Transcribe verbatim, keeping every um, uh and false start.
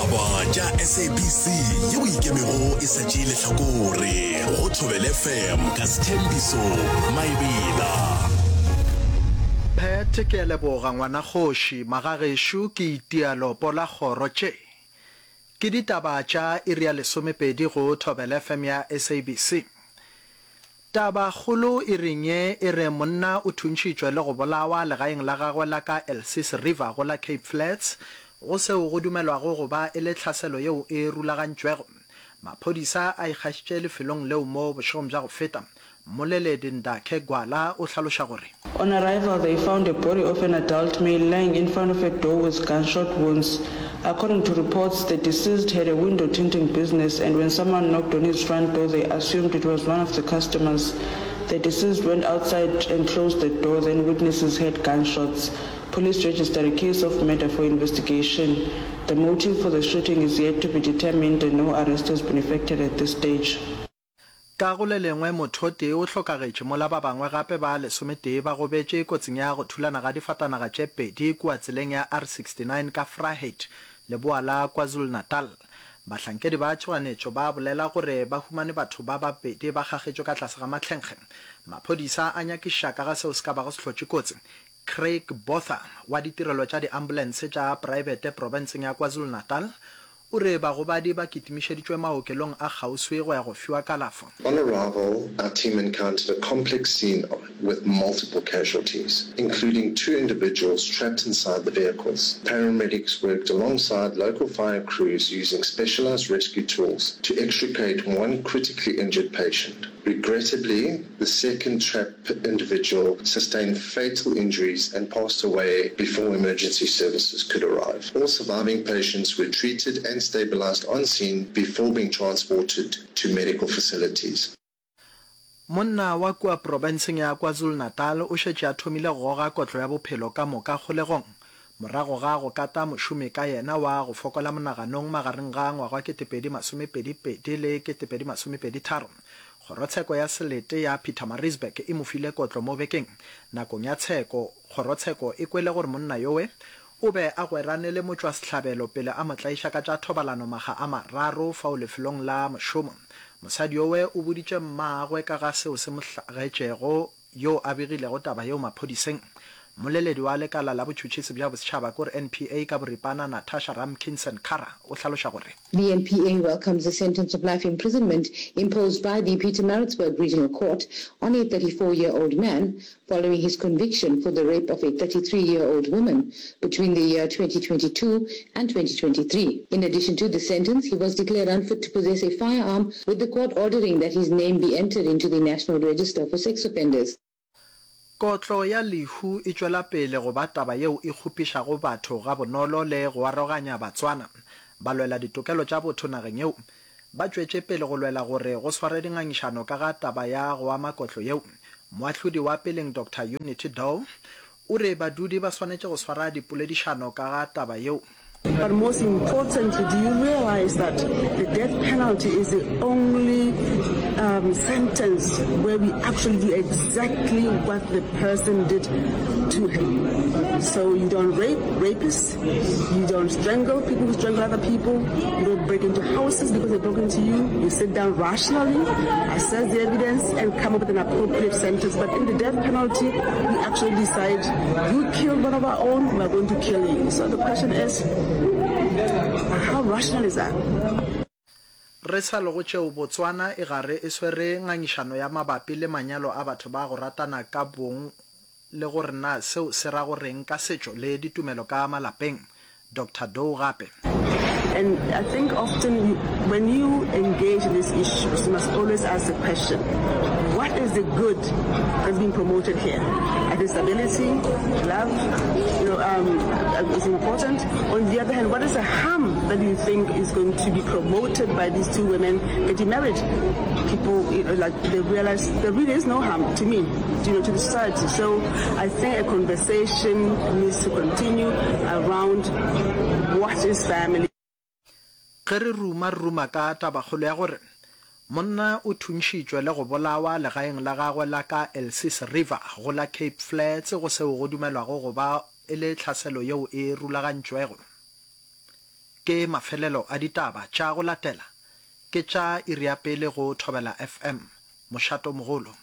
Ditaba tša S A B C yeo ikemego e sa tšee lehlakore go Thobela F M ka Sethembiso Maebela. Phet ke a leboga ngwana kgoši, magagešo ke itia lopo la kgoro tše. Ke ditaba tša iri ya lesomepedi go Thobela F M ya S A B C. Taba kgolo iring ye e re monna o thuntšhitšwe le go bolawa legaeng la gagwe la ka Elsies River go la Cape Flats go seo go dumelwago go ba e le tlhaselo yeo e rulagantšwego. Maphodisa a ikgašitše lefelong leo mo bošegong bja go feta. Mmoleledi Ndakhe Gwala o hlaloša gore. On arrival, they found a body of an adult male lying in front of a door with gunshot wounds. According to reports, the deceased had a window tinting business and when someone knocked on his front door, they assumed it was one of the customers. The deceased went outside and closed the door, then witnesses heard gunshots. Police registered a case of murder for investigation. The motive for the shooting is yet to be determined and no arrest has been effected at this stage. Ka go le lengwe, motho o tee o hlokagetše mola ba bangwe gape ba lesometee ba gobetše kotsing ya go thulana ga difatanaga tše pedi kua tseleng ya R sixty nine ka Vryheid, leboa la KwaZulu-Natal. Bahlankedi ba tšhoganetšo ba bolela gore ba humane batho ba babedi ba kgakgetšwe ka tlase ga mahlenkge. Maphodisa a nyakišiša ka ga seo se ka bago se hlotše kotsi. Craig Botha wa ditirelo tša diambulense tša praebete profenseng ya KwaZulu-Natal o re bagobadi ba kitimišeditšwe maokelong a kgauswi go ya go fiwa kalafo. On arrival, our team encountered a complex scene with multiple casualties, including two individuals trapped inside the vehicles. Paramedics worked alongside local fire crews using specialized rescue tools to extricate one critically injured patient. Regrettably, the second trapped individual sustained fatal injuries and passed away before emergency services could arrive. All surviving patients were treated and stabilized on scene before being transported to medical facilities. Monna wa kua profenseng ya KwaZulu-Natal o šetše a thomile go goga kotlo ya bophelo ka moka kgolegong morago ga go kata mošomi ka yena wa go fokola monaganong magareng ga ngwaga wa ketepedi masomepedi pedi le ketepedi masomepedi tharo. Kgorotsheko ya selete ya Pietermaritzburg e mo file kotlo mo bekeng. Nakong ya tsheko, kgorotsheko e kwele gore monna yowe o be a gwerane le motšwasehlabelo pele a mo tlaiša ka tša thobalano makga a mararo fao lefelong la mošomo. Mosadi yowe o boditše mmagwe ka ga seo se mo hlagetšego, yo a begilego taba yeo maphodiseng. Mmoleledi wa lekala la botšhotšhisi bja bosetšhaba kore N P A ka boripana Natasha Ramkisson-Kara o hlaloša gore. The N P A welcomes the sentence of life imprisonment imposed by the Pietermaritzburg Regional Court on a thirty-four-year-old man following his conviction for the rape of a thirty-three-year-old woman between the year twenty twenty-two and twenty twenty-three. In addition to the sentence, he was declared unfit to possess a firearm, with the court ordering that his name be entered into the National Register for Sex Offenders. Kotlo ya lehu e tšwela pele go ba taba yeo e kgopišago batho gabonolo le go aroganya Batswana. Balwela ditokelo tša botho nageng yeo ba tšwetše pele go lwela gore go sware dingangišano ka ga taba ya go ama kotlo yeo. Moahlodi wa peleng Doctor Unity Dow o re badudi ba swanetše go swara dipoledišano ka ga taba yeo. But most importantly, do you realize that the death penalty is the only um, sentence where we actually do exactly what the person did to him? So you don't rape rapists, you don't strangle people who strangle other people, you don't break into houses because they broke into you. You sit down rationally, assess the evidence, and come up with an appropriate sentence. But in the death penalty, we actually decide you killed one of our own, we are going to kill you. So the question is, how rational is that? Re sa le go tšeo, Botswana e gare e swere ngangišano ya mabapi le manyalo a batho ba go ratana ka bong le gore na seo se ra go reng ka setšo le ditumelo ka malapeng. Doctor Dow gape. And I think often you, when you engage in these issues, you must always ask the question, what is the good that's being promoted here? I think stability, love, you know, um, is important. On the other hand, what is the harm that you think is going to be promoted by these two women getting married? People, you know, like they realize there really is no harm to me, you know, to the society. So I think a conversation needs to continue around what is family. Ge re ruma re ruma ka tabakgolo ya gore monna o thuntšhitšwe le go bolawa legaeng la gagwe la ka Elsies River go la Cape Flats go seo go dumelwago go ba e le tlhaselo yeo e rulagantšwego. Ke mafelelo a ditaba tša go latela ke tša iri ya pele go Thobela FM, mošato mogolo.